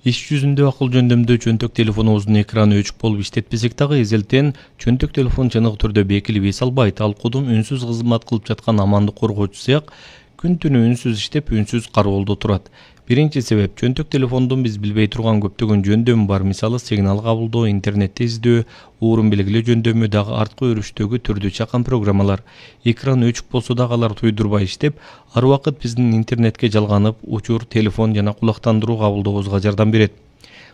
Иш жүзүндө акыл жөндөмдө чөнтөк телефонубуздун экраны өчүк болуп иштетпесек дагы эзелтен чөнтөк телефон чыныгы түрдө бекилип эс албайт. Ал кудум үнсүз кызмат кылып жаткан амандык коргоочу сыяк күн түнү үнсүз иштеп, үнсүз кароолдо турат. Биринчи себеп чөнтөк телефондун биз билбей турган көптөгөн жөндөмү бар. Мисалы, сигнал кабылдоо, интернетти издөө, уурун белгилөө жөндөмү, дагы арткы өрүштөгү түрдүү чакан программалар. Экран өчүк болсо дагы алар туйдурбай иштеп, ар убакыт биздин интернетке жалганып, учур, телефон жана кулактандыруу кабылдообузга жардам берет.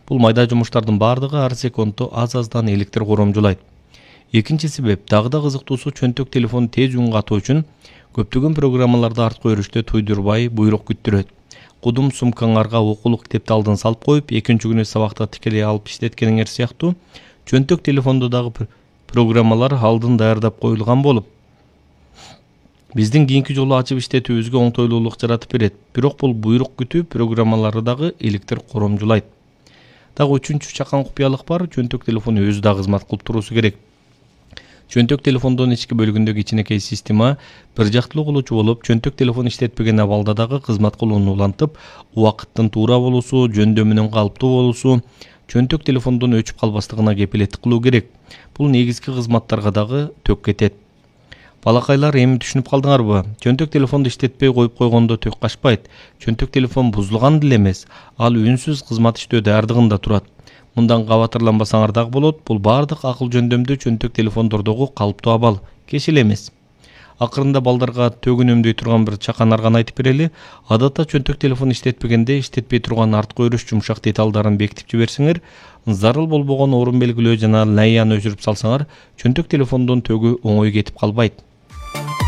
Бул майда жумуштардын бардыгы ар секундту аз-аздан электр коромжулайт. Экинчи себеп дагы да кызыктуусу чөнтөк телефон тез үн катуу үчүн көптөгөн программаларды арткы өрүштө туйдурбай буйрук күттүрөт. Кудум сумкаңарга окулук китепти алдын салып коюп, экинчи күнү сабакта тикелей алып иштеткениңер сыяктуу чөнтөк телефондо дагы программалар алдын даярдап коюлган болуп, биздин кийинки жолу ачып иштетүүбүзгө оңтойлуулук жаратып берет. Бирок бул буйрук күтүү программалары дагы электр коромжулайт. Дагы үчүнчү чакан купуялык бар, чөнтөк телефон өзү да кызмат кылып туруусу керек. Чөнтөк телефондун ички бөлүгүндөгү кичинекей система бир жактылуу кылуучу болуп, чөнтөк телефон иштетпеген абалда дагы кызмат кылууну улантып, убакыттын туура болуусу, жөндөмүнүн калыптуу болуусу, чөнтөк телефондун өчүп калбастыгына кепилеттик кылуу керек. Бул негизги кызматтарга дагы төк кетет. Балакайлар, эми түшүнүп калдыңарбы? Чөнтөк телефонду иштетпей коюп койгондо төк качпайт. Чөнтөк телефон бузулган деле эмес, ал үнсүз кызмат иштөө даярдыгында турат. Мындан кабатырланбасаңар дагы болот. Бул бардык акыл жөндөмдүү чөнтөк телефондордогу калыптуу абал, кеч эле эмес. Акырында балдарга төгүн өндөй турган бир чакан арган айтып берели. Адатта чөнтөк телефон иштетпегенде иштетпей турган арткы өрүш жумшак деталдарын бекитип жиберсеңер, зарыл болбогон орун белгилөө жана лайяны өчүрүп салсаңар, чөнтөк телефондун төгү оңой кетип калбайт.